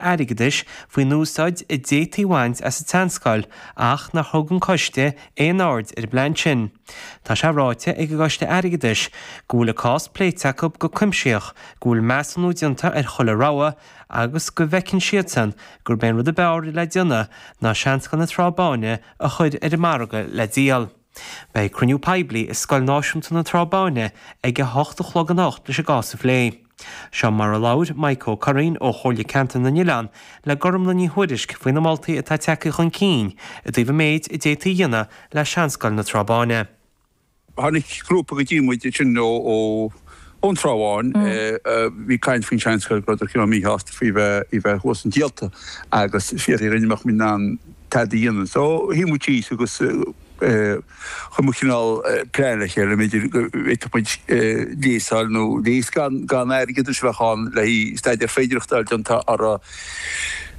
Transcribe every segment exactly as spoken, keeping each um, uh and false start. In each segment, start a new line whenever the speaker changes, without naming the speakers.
Airgeadais faoin úsáid a d'fhéadfaí a bhaint as an tseanscoil ach nár thug an coiste aon aird ar an bplean sin. Tá sé ráite ag an gCoiste Airgeadais go bhfuil an cás pléite acu go cuimsitheach, go bhfuil measúnú déanta ar chuile rogha agus go bhfeiceann siadsan gurb é an rud ab fhearr le déanamh ná Seanscoil na Trá Báine a chur ar an margadh le díol. Beidh cruinniú poiblí i Scoil Náisiúnta na Trá Báine ag a hocht a chlog anocht leis an gcás a phlé. Seo mar a labhair Mike Ó Curraoin ó Chomhairle Ceantar na nOileán le Gormlaith Ní Thuairisg faoi na moltaí atá tagtha chun cinn i dtaobh an méid a d'fhéadfaí a dhéanamh le Seanscoil na Trá Báine.
Tháinig grúpa go dtí muid ansin ó ón Trá Bháin, bhí caint faoin seanscoil go rabhadar cineál míshásta faoi bheith í bheith thuas an díolta agus fiafraí dhínn an mbeadh muid in ann tada a dhéanamh. So shuigh muid síos agus chuir muid cineál plean le chéile, b'fhéidir go bhféadfadh muid léas a fháil nó léas gan gan airgead a bheadh ann le haghaidh staidéar féidearthachta a fháil déanta orthu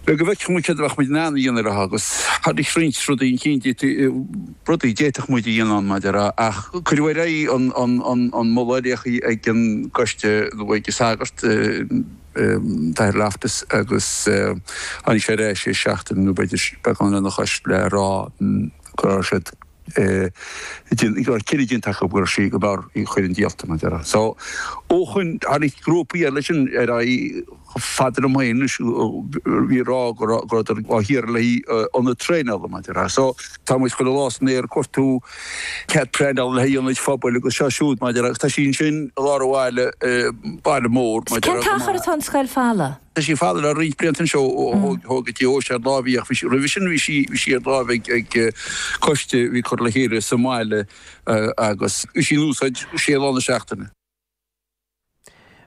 le go bhfeicfeadh muid céard a bheadh muid in ann a dhéanamh leo agus tháinig roinnt rudaí chun cinn, rudaí a d'fhéadfadh muid a dhéanamh ann maidir le, ach cuireadh ar aghaidh an an an an moladh ar ag an gcoiste nó ag an sagart, an tAthair Loftus agus tháinig sé ar ais seachtain nó b'fhéidir beagán lena chois le rá go raibh siad go raibh cinneadh déanta acu go raibh sí go mb'fhearr í a chur chun díolta, mar a déarfá. So, ó shoin, tháinig grúpaí eile sin ar aghaidh chomh fada liom féin anois, bhí ag rá go raibh, go rabhadar á hiarraidh le haghaidh ionad traenála, mar a déarfá. So, tá muid chuile lá san aer ag cuartú cead pleanála le haghaidh ionaid phobail agus seo siúd, mar a déarfá, agus tá sí ansin i lár an bhaile, baile mór, mar a
Cén
déarfá, go
t-achar
maith.
atá an scoil folamh?
Tá sí folamh le roinnt blianta anois ó thóg an deoise ar láimh í ach bhí sí roimhe sin bhí sí bhí sí ar láimh ag ag coiste a bhí curtha le chéile sa mbaile agus bhí sí in úsáid sé lá na seachtaine.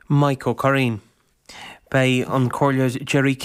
Mike Ó Curraoin. Beidh an Comhairleoir Gerry King.